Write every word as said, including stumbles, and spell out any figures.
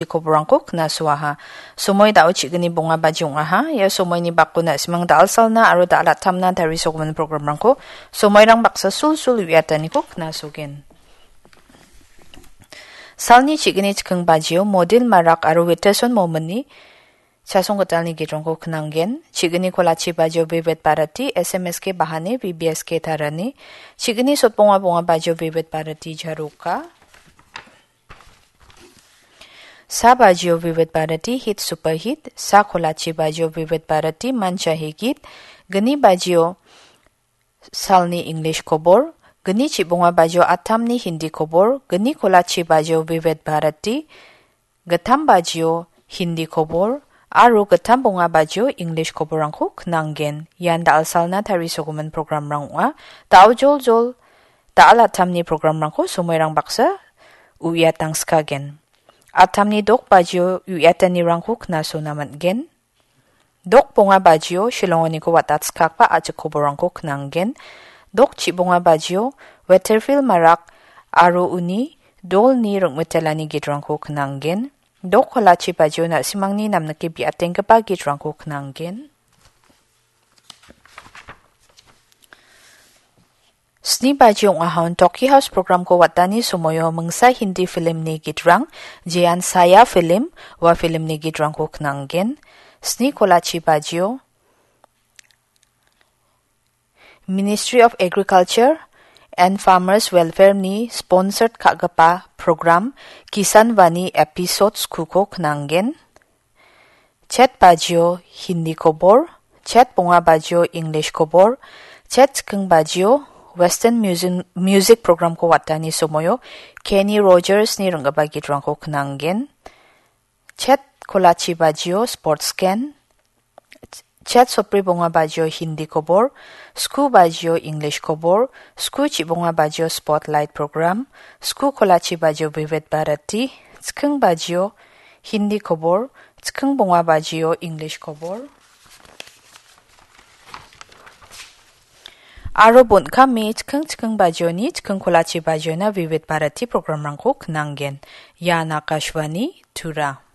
koborangko knasoaha. Somoi dao chigni bonga baji ong·aha. Ia somoini bakona simang dal salna aro dal attamna tarisogimin programrangko somoirang baksa sulsul uiataniko knasogen. Salni chigni chikking bajio Modil Marak aro Witeson Momini chasong gitalni gitrangko knanggen. Chigni kolachi bajio Vivid Bharati, S M S K Bahani, V B S K Tarani. Chigni sotbonga bonga bajio Vivid Bharati Jaroka. Sa bajio Vivid Bharati Hit Super Hit, sa kolachi bajio Vivid Bharati Mancha Higit, gni bajio salni English kobor, gni chibonga bajio atamni Hindi kobor, gni kolachi bajio Vivid Bharati, gittam bajio Hindi kobor, aro gittam bonga bajio English koborrangko knanggen. Ian da·al salna tarisogimin programrang ong·a. Da·o joljol da·al attamni programrangko somoirang baksa uiatangskagen. Attamni dok bajio uiatanirangko knasona man·gen. Dok bonga bajio Shillongoniko watatskakba a·chik koborrangko knanggen. Dok chibonga bajio Weatherfield Marak aro uni dolni ring·mitelani gitrangko knanggen. Dok kolachi bajio na·simangni namnike biatenggipa gitrangko knanggen. Sni baji ong·ahon Toki House programko watani somoio mingsa Hindi filmni gitrang, jean saya film, ua filmni gitrangko knanggen. Sni kolachi bajio Ministry of Agriculture and Farmers Welfare-ni sponsored ka·gipa program Kisan Vani episode skuko knanggen. Chet bajio Hindi kobor, chet bonga bajio English kobor, chet chikking bajio Western music, music programko watani somoio Kenny Rogers-ni ring·gipa gitrangko knanggen. Chet kolachi bajio sports gen, chet sopri bonga bajio Hindi kobor, sku bajio English kobor, sku chibonga bajio spotlight program, sku kolachi bajio Vivid Bharati, chikking bajio Hindi kobor, chikking bonga bajio English kobor. Aro bon·kame chikking chikking bajioni, chikking kolachi bajiona Vivid Bharati programrangko knanggen. Ian Akashvani Tura.